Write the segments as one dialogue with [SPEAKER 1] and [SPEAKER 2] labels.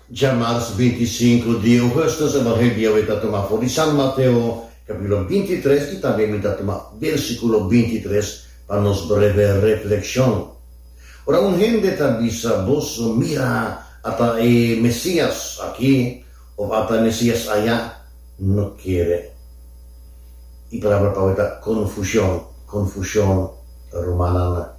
[SPEAKER 1] Djamars 25 di ougùstùs, Evangelio di Yahweh ta tuma for di San Mateo, kapítulo 23, i tambe mi ta tuma versíkulo 23 pa nos breve reflekshon. Ora un hende ta bisa boso, Mira, ata e Mesías aki, òf ata e Mesías ayá, no kere. E palabra pa awe ta konfushon, konfushon, rumannan.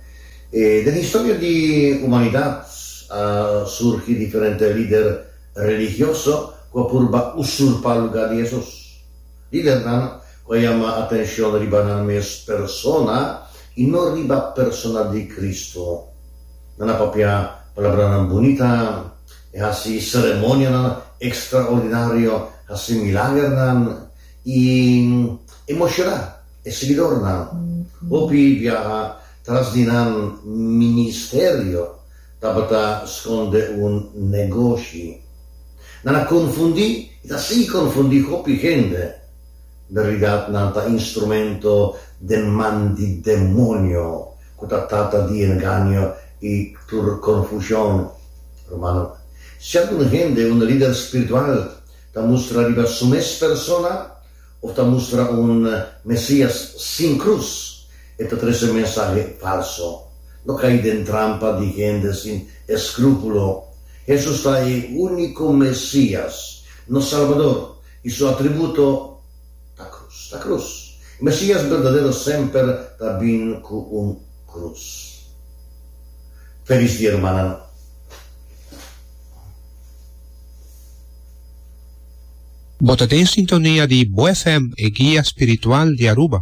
[SPEAKER 1] Den historia di humanidat a surgi diferente lider religioso ku a purba usurpá lugá di Hesus. Lidernan ku a yama atenshon riba nan mes persona i no riba persona di Kristu. Nan a papia palabranan bunita, e hasi seremonianan ekstraordinario, hasi milagernan i emoshoná e siguidornan. Hopi biaha tras di nan ministerio tabata skonde un negoshi. Nan a konfundí i ta sigui konfundí hopi hende. Bèrdidat nan ta instrumento den man di demonio ku ta tata di engaño i tur konfushon. Rumannan, si algun hende, un lider spiritual, ta mustra riba su mes persona òf ta mustra un Mesías sin krus, e ta trese mensahe falso. No kai den trampa di hende sin eskrúpulo. Hesus ta e úniko Mesías, nos Salbador, i su atributo ta krus. Ta krus. E Mesías berdadero semper ta bin ku un krus. Felis dia, rumannan.
[SPEAKER 2] Bo ta den sintonia di Bo FM, e guia spiritual di Aruba.